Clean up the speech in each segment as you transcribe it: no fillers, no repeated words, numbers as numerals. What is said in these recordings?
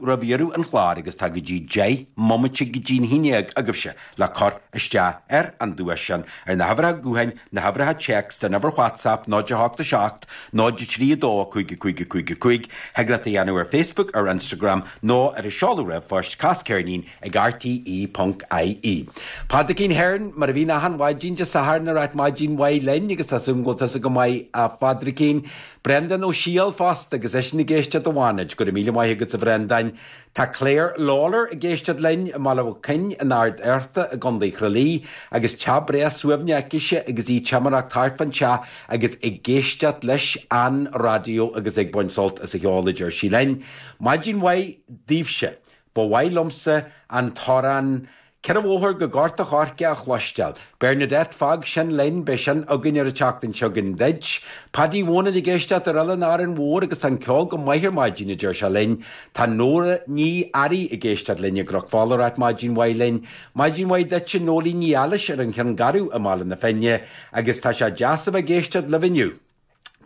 dhéanamh roimh dheireadh an chláir agus tá go dtí 10 mbomaite go dtí'n haon dhéag agaibhse le cur isteach ar an duais sin ar na huimhreacha gutháin, na huimhreacha téacs, den uimhir WhatsApp, 0 8 7 0 3 2 5 5 5 5, thig leat a dhéanamh ar Facebook, ar Instagram nó ar an seoladh ríomhphoist, cas ceirnín ag rte.ie. Pádraicín Hearne, mar a bhíonn achan mhaidin Dé Sathairn ag ráit maidin mhaith linn agus tá súil agam go bhfuil tusa go maith a Phádraicín. Breandán Ó Siadhail fosta agus eisean ag éisteacht i bhFánaid. Go raibh míle maith agat a Bhreandáin. Tá Claire Lawlor ag éisteacht linn i mBaile Mhic Coinn in Ard Fhearta i gContae Thra Lí agus teach breá suaimhneach aicise agus í ag timireacht thart fán teach agus ag éisteacht leis an raidió agus ag baint sult as an cheol a deir sí linn. Maidin mhaith daoibhse. Ba mhaith liomsa an t-amhrán 'Ceithre Bhóthar go Gort a' Choirce' a chloisteáil. Bernadette, fág sin linn, beidh sin againn ar an tseachtain seo chugainn duit. Paddy Mhónain ag éisteacht ar Oileán Árainn Mhór agus tá an ceol go maith ar maidin, a deir sé linn. Tá Nóra Ní Fhearraigh ag éisteacht linn i gCnoc Fola ag ráit maidin mhaith linn. Maidin mhaith duitse Nóilín Ní Ailís ar an Cheann Garbh i mBaile na Finne agus tá sé deas a bheith ag éisteacht libh inniu.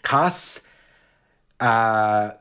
Cas a.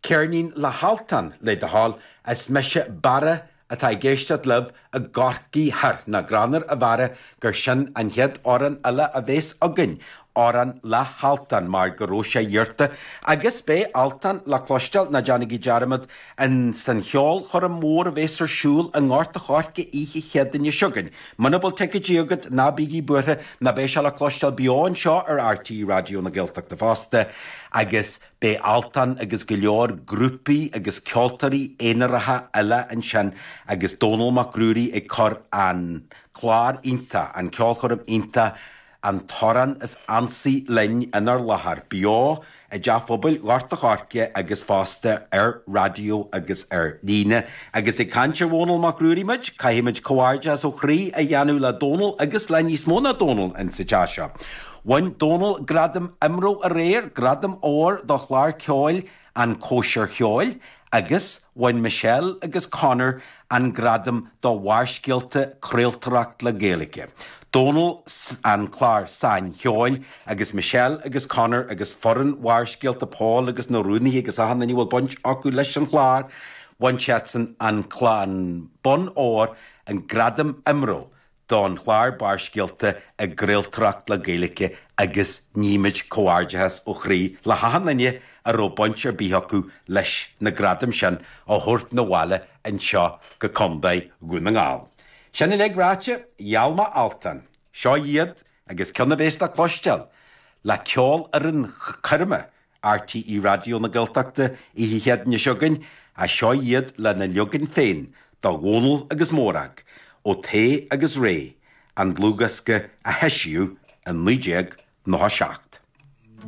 Ceirnín le hAltan, le do thoil, is mise Barra atá ag éisteacht libh i gCorcaigh Thoir. Nach greannmhar a Bharra gur sin an chéad amhrán eile a bhéas againn, amhrán le hAltan, mar go raibh sé iarrta. Agus beidh Altan le cloisteáil, ná déanaigí dearmad, in san cheolchoirm mhór a bhéas ar siúl i nGort a' Choirce oíche Chéadaoine seo chugainn. Muna bhfuil ticéidí agat, ná bígí buartha, nó beidh sé le cloisteáil beo anseo ar RTÉ Raidió na Gaeltachta fosta. Agus. Beidh Altan agus go leor grúpaí agus ceoltóirí aonaracha eile ansin agus Dónall Mac Ruairí ag cur an clár iontach, an ceolchoirm iontach, An tAmhrán is Ansaí Linn inár láthair, beo i dTeach Phobail Ghort a' Choirce agus fosta ar raidió agus ar líne. Agus ag caint ar Dhónall Mac Ruairí muid, caithfimid comhghairdeas ó chroí a dhéanamh le Dónall agus le níos mó ná Dónall insa teach seo. Bhain Dónal gradam IMRO aréir, gradam óir do chlár ceoil An Cóisir Cheoil agus bhain Michelle agus Conor an gradam do Bharrscéalta Craoltóireacht le Gaeilge. Dónal an clár Sain-Cheoil agus Michelle agus Conor agus foireann Bharrscéalta Paul agus na rúnaithe agus achan duine a bhfuil baint acu leis an chlár, bhain siadsan an bonn óir, an gradam IMRO. don chlár Barrscéalta i gCraoltóireacht le Gaeilge agus nímid comhghairdeachas ó chroí le hachan duine a raibh baint ar bith acu leis na gradaim sin a thabhairt 'na bhaile anseo go Contae Dhún na nGall. Sin uilig ráite, gheall mé Altan. Seo iad agus ceann a bhéas le cloisteáil le ceolfhoireann coirme RTÉ Raidió na Gaeltachta oíche Chéadaoine seo chugainn, ach seo iad lena leagan féin de Dhónal agus Mórag, ó Tae agus Ré, an dlúthdhiosca a heisíodh in 1997.